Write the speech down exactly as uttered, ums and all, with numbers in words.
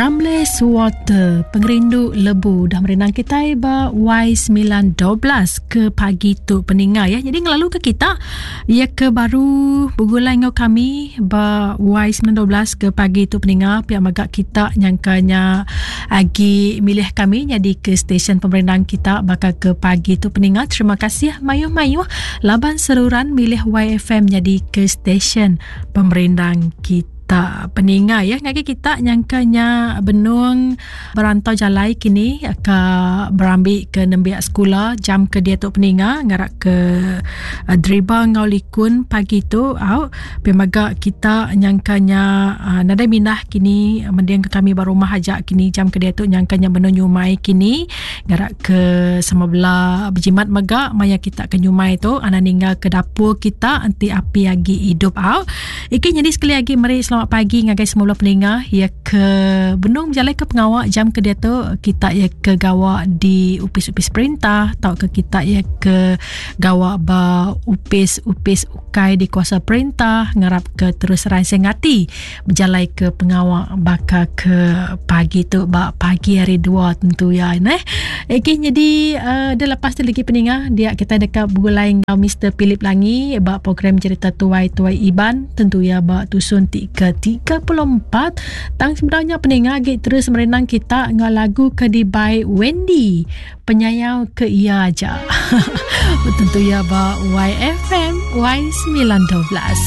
Ramles Water Pengerindu Lebu dah merindang kitai ba Y sembilan dua belas ke pagi tu peninga ya. Jadi ngelalu ke kita ya ke baru bergulai ngau kami ba Y sembilan dua belas ke pagi tu peninga, pihak magak kita nyangkanya agi milih kami jadi ke stesen pemerindang kita bakal ke pagi tu peninga. Terima kasih mayuh-mayuh laban seruran milih Y F M jadi ke stesen pemerindang kita. Tak peninga ya ngagi kita nyangkanya benung berantau jalai kini ke berambi ke nembiak sekolah jam ke dia tu peninga ngarak ke uh, driba ngau likun pagi tu au pemaga kita nyangkanya uh, nadai minah kini mending ke kami baru rumah aja kini jam ke dia tu nyangkanya benung nyumai kini ngarak ke sama bela berjimat mega maya kita ke nyumai tu ana ninggal ke dapur kita anti api agi hidup au. Iki jadi sekali lagi meri selamat pagi ngagai semua peninga ya ke benung berjalan ke pengawak jam ke dia tu kita ya ke gawak di upis-upis perintah atau ke kita ya ke gawak ba upis-upis ukai di kuasa perintah ngarap ke terus ransing hati berjalan ke pengawak bakal ke pagi tu ba pagi hari dua tentu ya neh. Okey jadi uh, dia lepas tu lagi peninga dia kita dekat bergulai dengan Mister Philip Langi ba program cerita tuai-tuai Iban tentu ya ba tusun ke tiga puluh empat. Tang sebenarnya peninga agi terus merenang kita ngau lagu ke dibai Wendy penyayau ke ia aja. Tentu ya ba Y F M Y sembilan dua belas.